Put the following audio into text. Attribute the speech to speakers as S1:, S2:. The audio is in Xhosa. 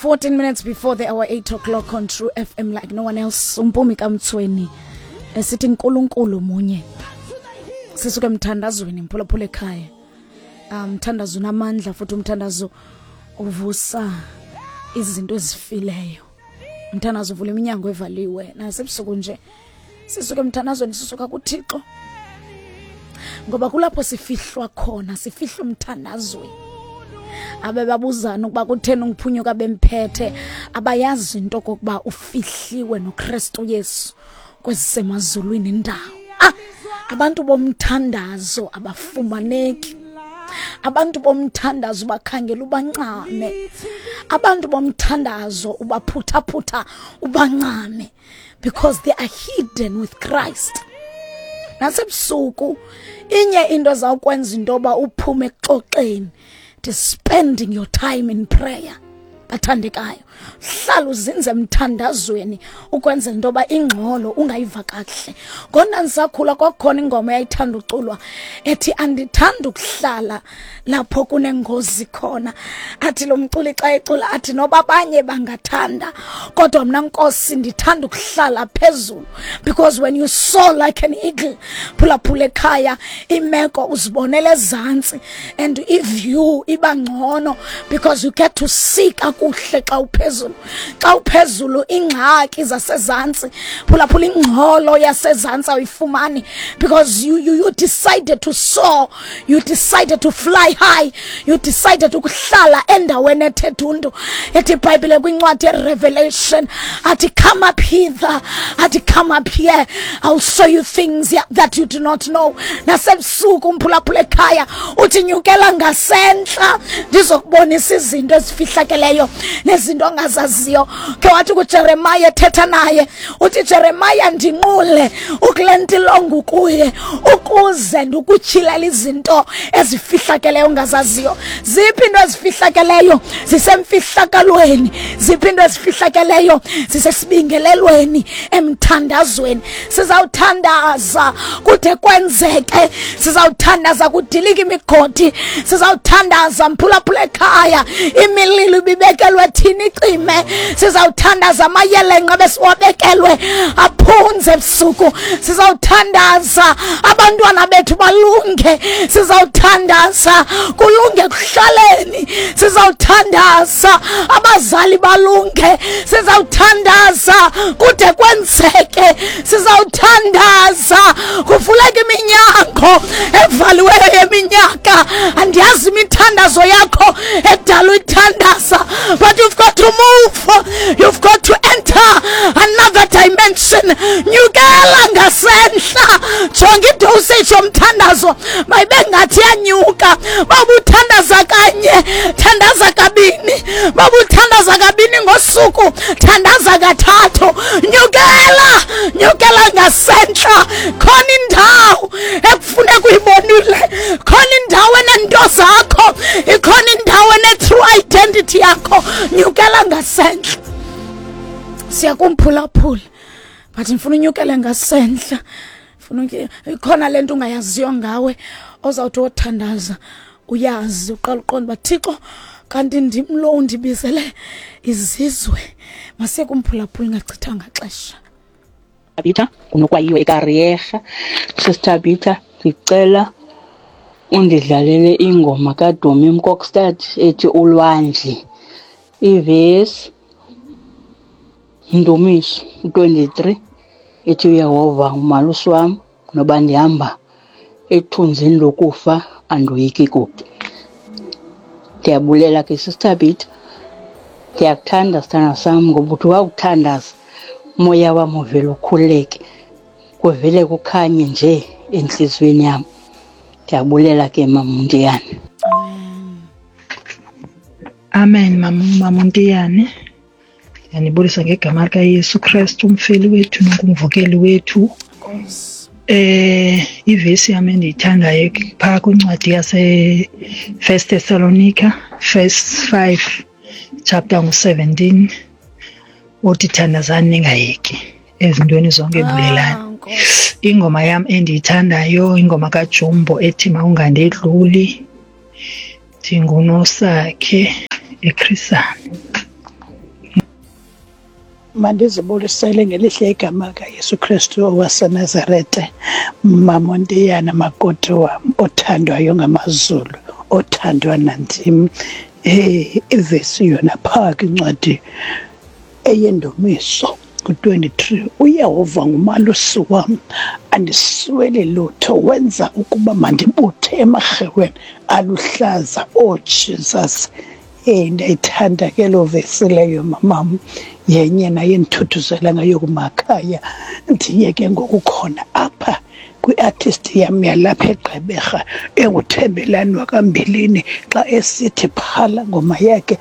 S1: 14 minutes before the hour 8 o'clock on True FM like no one else. Umpumi kaMtsweni esithi uNkulunkulu munye. Sisuke emthandazweni mphulaphula ekhaya. Umthandazo um, unamandla futhi umthandazo uvusa izinto ezifileyo. Umthandazo uvula iminyango evaliwe nasebusuku nje. Sisuke emthandazweni sisuka kuThixo. Ngoba kulapho sifihlwa khona, sifihlwa umthandazweni. Abebabuzana ukuba kutheni ungiphunyuka bemphethe, abayazi into kokuba ufihliwe noKristu Yesu kwezisemazulwini indawo. Ah, abantu bomthandazo abafumaneki. Abantu bomthandazo bakhangela ubancame. Abantu bomthandazo ubaphuthaphutha ubancame. Because they are hidden with Christ. Nasebusuku inye into ezawukwenza into yoba uphume ekuxoxeni, it is spending your time in prayer. Bathandekayo, hlala uzinze emthandazweni ukwenzela into yoba ingxolo ungayiva kakuhle. Ngona ndisakhula kwakukhona ingoma eyayithanda uculwa ethi andithanda ukuhlala lapho kunengozi khona. Athi lo mculi xa ecula athi noba abanye bangathanda kodwa mna Nkosi ndithanda ukuhlala phezulu, because when you soar like an eagle, phulaphula ekhaya, imeko uzibonela ezantsi and iview iba ngcono because you get to see kakuhle xa uphezulu. Xa uphezulu ingxaki zasezantsi, phulaphula, ingxolo yasezantsi awuyifumani because you decided to soar, you decided to fly high, you decided ukuhlala endaweni ethe dundu. Ethi iBhayibhile kwincwadi yeRevelation athi come up hither, athi come up here, I'll show you things that you do not know. Nasebusuku umphulaphula ekhaya uthi nyukela ngasentla ndizokubonisa izinto ezifihlakeleyo nezinto ongazaziyo. Ke wathi kuJeremiah ethetha naye uthi Jeremiah ndinqule ukule ntilongo kuye ukuze ndikutyhilela izinto ezifihlakeleyo ongazaziyo. Ziphi into ezifihlakeleyo? Zisemfihlakalweni. Ziphi into ezifihlakeleyo? Zisesibingelelweni, emthandazweni. Sizawuthandaza kude kwenzeke, sizawuthandaza kudilike imigodi, sizawuthandaza mphulaphula ekhaya imililo ibibekelwe thina icime, sizawuthandaza amayelenqe besiwabekelwe aphunze ebusuku, sizawuthandaza abantwana bethu balunge, sizawuthandaza kulunge ekuhlaleni, sizawuthandaza abazali balunge, sizawuthandaza kude kwenzeke, sizawuthandaza kuvuleke iminyango evaliweyo yeminyaka. Andiyazi imithandazo yakho edala uyithandaza, but you've got to move, you've got to enter another dimension. Nyukela ngasentla, jonga idosage yomthandazo mayibe ngathi yanyuka. Babuthandaza kanye, thandaza kabini, babuthandaza kabini ngosuku, thandaza kathathu. Nyukela, nyukela ngasentla. Khona indawo ekufuneka uyibonile, khona indawo enento zakho, ikhona indawo ene-true identity yakho. Nyukela ngasentla. Siyakumphulaphula but ndifuna unyukele ngasentla. Funa ikhona lento ungayaziyo ngawe ozawuthi wothandaza uyazi, uqala uqonda uba Thixo kanti ndim lo undibizele izizwe. Masiye kumphulaphula ingachithanga xesha.
S2: Tabitha unokwayiwe eKarierha. Sister Tabitha, ndicela undidlalele ingoma kaDumi Mkokstad ethi Ulwandle. Ivesi Ndumiso 23 ethi uYehova ngumalusi wam, noba ndihamba ethunzini lokufa andoyiki kubi. Ndiyabulela ke Sister Tabitha, ndiyakuthanda sithanda sam ngoba uthi wakuthandaza umoya wam uvele ukhululeke, kuvele kukhanye nje entliziyweni yam. Ndiyabulela ke Mama Ntiyane.
S3: Amen Mama Ntiyane. Ndiyanibulisa ngegama likaYesu Kristu, umfeli wethu nongumvukeli wethu. Ivesi yam endiyithandayo phaa kwincwadi yase First Thessalonica verse 5 chapter ngu-17 othi thandazani ningayeki, ezintweni zonke bulelani. Ingoma yam endiyithandayo ingoma kaJumbo ethi mawungandedluli. Ndingunosakhe eChris Hani.
S4: Mandizibulisele ngelihle igama kaYesu Kristu owaseNazarete, Mamontiyana makoti wam othandwayo ngamaZulu, othandwa nandim. Eh ivesi yona phaa kwincwadi eyendumiso ku-23 uYehova ngumalusi wam andisweli lutho wenza ukuba mandibuthe emarheweni aluhlaza oh Jesus Eh ndayithanda ke loo vesi leyo mamam yenye naye endithuthuzela ngayo kumakhaya ndiye ke ngoku khona apha kwi-artist yam yalapha eGqeberha enguThembelani wakambilini xa esithi phala ngoma yakhe.